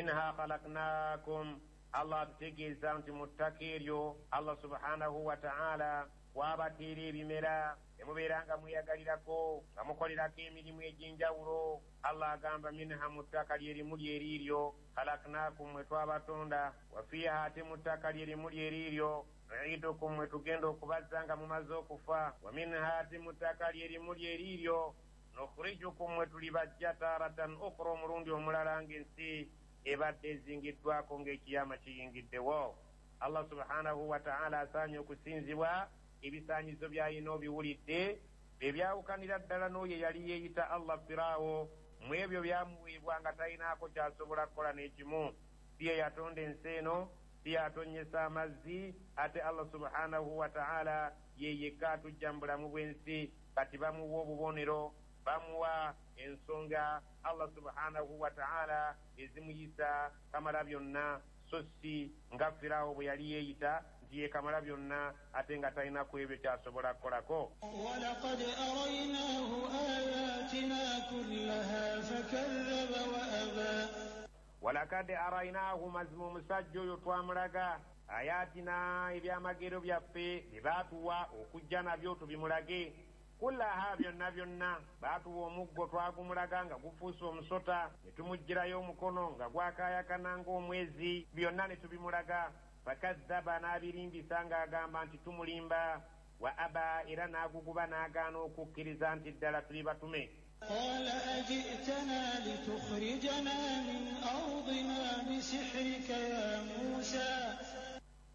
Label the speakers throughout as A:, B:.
A: Minha khalaknakum, Allah atutegeeza nti mu ttaka eryo Allah subhanahu wa ta'ala kwabateera ebimera ne mubeera nga mweyagalirako nga mukolerako emirimu egy'enjawulo. Allah agamba minha, mu ttaka lyerimu lyeriiryo, khalaknakum, mwe twabatonda, wa fiiha, ate mu ttaka lyerimu lyeriiryo, nuidukum, mwe tugenda okubazza nga mumaze okufa, wa minha, ate mu ttaka lyerimu lyeriiryo, nukhrijukum, mwe tulibajja taratan ukhra, omulundi omulala ng'ensi ebadde ezingiddwako ng'ekiyama kiyingiddewo. Allah subhanahu wa ta'ala asaanye okusinzibwa. Ebisaanyizo by'alina obiwulidde ebyawukanira ddala n'oyo eyali yeeyita Allah Firaawo. Mu ebyo byamuweebwa nga talinaako ky'asobola kukola n'ekimu. Si ye yatonda ensi eno, si y'atonnyesa amazzi, ate Allah subhanahu wa ta'ala ye yekka atujja mu bulamu bw'ensi. Kati bamuwa obubonero, bamuwa ensonga Allah subhanahu wa ta'ala ezimuyisa kamala byonna, so si nga Firaawo bwe yali yeeyita nti ye kamala byonna ate nga talina ku ebyo ky'asobola kukolako.
B: Walaqad araynaahu ayatina kullaha fakadhaba wa aba.
A: Walakad araynaahu, mazima omusajja oyo twamulaga ayatina, ebyamagero byaffe bye baatuwa okujja nabyo tubimulage, kullaha, byonna byonna. Baatuwa omuggo twagumulaga nga gufuuse omusota, ne tumuggyirayo omukono nga gwakaayakana ng'omwezi, byonna ne tubimulaga. Fakadhaba, n'abirimbisa ng'agamba nti tumulimba, wa aba, era n'aguguba n'agaana okukkiriza nti ddala tuli batume.
B: Qala ajitana litukhrijana min ardina bisihrika ya Musa.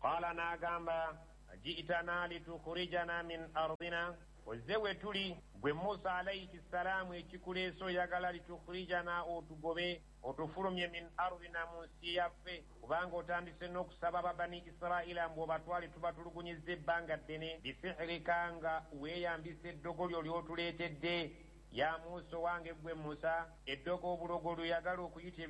A: Qala, n'agamba ajitana litukhrijana min ardina, ozze we tuli gwe Musa alayhi ssalaamu, ekikuleese oyagala litukhrijana, otugobe otufulumye, min ardina, mu nsi yaffe, kubanga otandise n'okusaba babani Isiraila mbu obatwale tubatulugunyizza ebbanga ddene, bisihirika, nga weeyambisa eddogo lyo ly'otuleetedde. Ya Musa, owange gwe Musa, eddogo obulogo lweyagala okuyita.